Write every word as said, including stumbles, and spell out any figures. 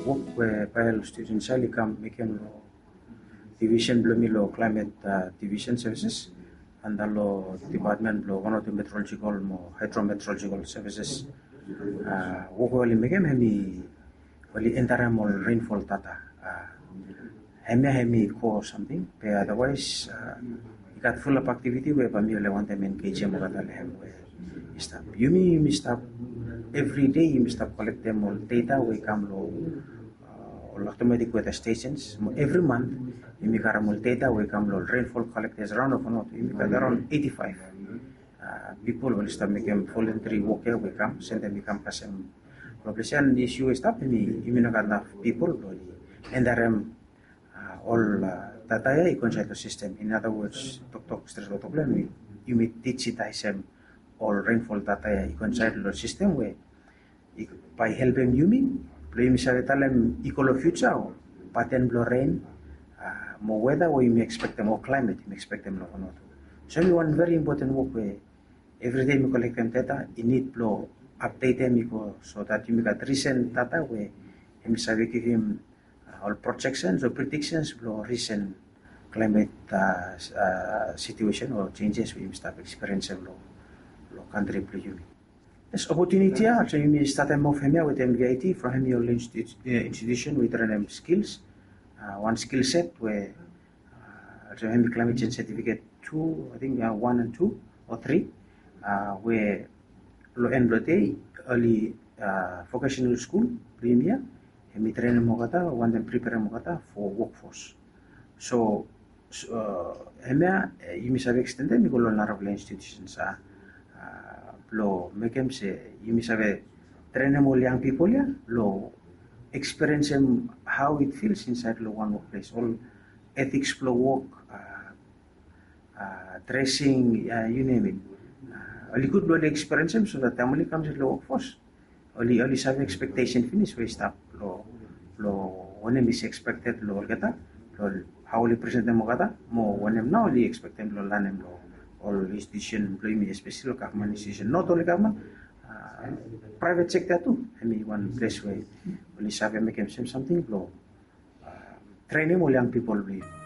Wok we bae ol students ia oli kam mekem long division blong mi long climate division services, anda long department blong Vanuatu Meteorological mo Hydrometeorological Services. Wok we oli mekem hemi oli entarem ol rainfall data. Hemia hemi ko samting be otherwise i gat fulap aktiviti we bae mi oli wantem engejem olgeta long hem we i stap. Yumi yumi stap, evri dei yumi stap kolektem ol data we i kam long ol automatic weather stations mo evri mant yumi karem ol data we i kam long ol rainfall collectors raon of not yumi gat araon eighty five pipol oli stap mekem voluntary wok ia we i kam sendem i kam kasem. Long ples ia isi we i stap yumi no gat naf pipol blong oli entarem ol data ia i go insaed long sistem. In other words, toktok stret long toktok blong hem, yumi dijitaesem ol rainfall data ia i go insaed long sistem we bae i helpem yumi blong yumi save talem i go long fiuja o paten blong ren mo weta we yumi ekspektem o klaimet yumi ekspektem long Vanuatu. So hemi wan veri impoten wok we evri dei yumi kolektem data i nid blong apdetem i go so dat yumi gat risen data we hemi save givim ol projeksens o prediksenis blong risen klaimet situesen o jenjes we yumi stap ekspiriensem long kantri blong yumi. Yes, opotuniti ia olsem yumi statem of hemia wetem V I T from hemi ol institusen we i trenem skils, wan skil set we olsem hemi climate change certificate tu, ating wan and tu o tri, we long en blong dei oli vocational skul blong yumi ia hemi trenem olgeta wantem preperem olgeta fo wokfos. So hemia yumi save ekstendem i go long narafala institusens blong mekem se yumi save trenem ol yang pipol ia long ekspiriensem hao it fils insaed long wan wokples, ol etiks blong wok, dresing, yu nem it. Oli gud blong oli ekspiriensem so dat taem oli kam insaed long wokfos oli save ekspektesen finis we i stap long wanem is ekspekted long olgeta, long hao oli presentem olgeta mo wanem nao oli ekspektem long lanem long ol institusen blong yumi, espeseli long gavman institusen, not only gavman, praevet sekta tu. Hemi wan ples we oli save mekem sem samting blong trenem ol yang pipol blong yumi.